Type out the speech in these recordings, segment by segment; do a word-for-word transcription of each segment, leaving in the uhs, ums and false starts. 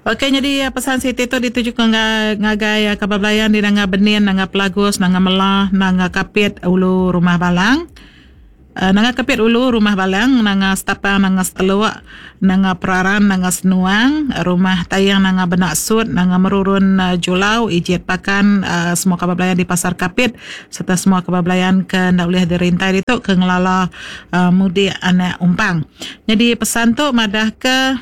Okey, nyadi pesan siti tu ditujuka ngagai kaban belayan di Nanga Benin, Nanga Pelagus, Nanga Mela, Nanga Kapit, Ulu Rumah Balang. Nanga Kapit Ulu Rumah Balang, Nanga Setapang, Nanga Seteluk, Nanga Peraran, Nanga Senuang, Rumah Tayang, Nanga Benak Sut, Nanga Merurun Julau, Ijit Pakan, semua kaban belayan di Pasar Kapit sereta semua kaban belayan ke enda ulih dirintai ditu ke ngelala mudik anak umpang. Nyadi pesan tu madahka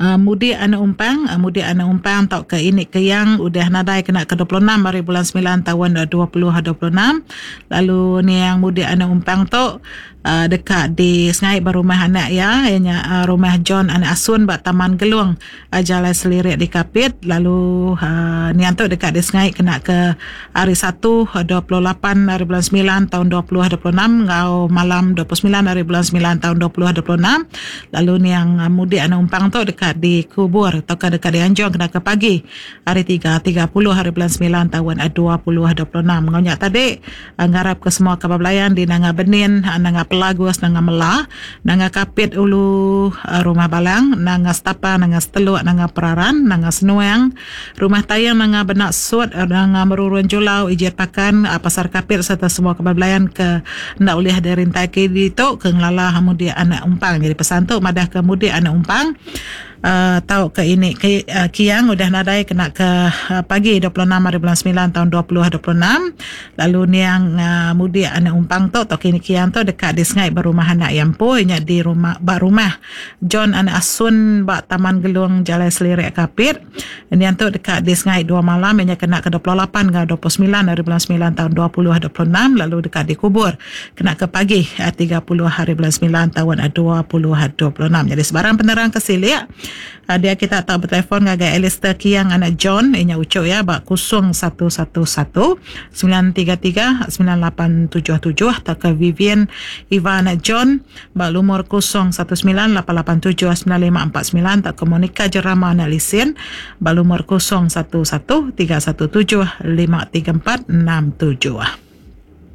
Mudik anak umpang, mudik anak umpang tauka ini ke yang udah nadai kena ke dua puluh enam hari bulan semilan taun dua puluh dua puluh enam. Lalu niang mudik anak umpang tu deka disengai ba rumah anak iya, iya nya rumah John anak Asun ba Taman Gelung Jalai Selirik di Kapit. Lalu niang tu deka disengai kena ke hari Satu dua puluh lapan hari bulan semilan taun dua puluh dua puluh enam enggau malam dua puluh semilan hari bulan semilan taun dua puluh dua puluh enam. Lalu niang mudik anak umpang tu deka dikubur tauka deka dianjung kena ke pagi hari tiga tiga puluh hari bulan semilan taun dua puluh dua puluh enam. Enggau nya tadi ngarap ke semua kaban belayan di Nanga Benin, Nanga Pelagus, Nanga Mela, Nanga Kapit Ulu Rumah Balang, Nanga Setapang, Nanga Seteluk, Nanga Peraran, Nanga Senuang, Rumah Tayang, Nanga Benak Sut, Nanga Merurun Julau, Ijit Pakan, Pasar Kapit sereta semua kaban belayan ke enda ulih dirintai ke ditu ke ngelala mudik anak umpang. Jadi pesan tu madah ke mudik anak umpang Uh, tau ke ini ke, uh, kiang udah nadai kena ke uh, pagi dua puluh enam hari bulan semilan tahun dua puluh dua puluh enam. Lalu niang uh, mudik anak umpang tu tau kini kiang tu dekat di Sengai berumah anak yang poi nya di rumah ba rumah John anak Asun ba Taman Gelung Jalai Selirik Kapit. Niang tu dekat di Sengai dua malam nya kena ke dua puluh lapan hingga dua puluh semilan hari bulan semilan tahun dua puluh dua puluh enam. Lalu dekat dikubur kena ke pagi uh, tiga puluh hari bulan semilan tahun dua puluh dua puluh enam. Jadi sebarang penerang ke silik dia kita tahu bertelefon ngagai Alistair Kiang anak John inya ucuk ya ba kosong satu satu satu sembilan tiga tiga sembilan lapan tujuh tujuh atau ke Vivian Iva anak John ba lumur kosong satu sembilan lapan lapan tujuh sembilan lima empat sembilan atau ke Monica Jerama anak Lisin ba lumur kosong satu satu tiga satu tujuh lima tiga empat enam tujuh.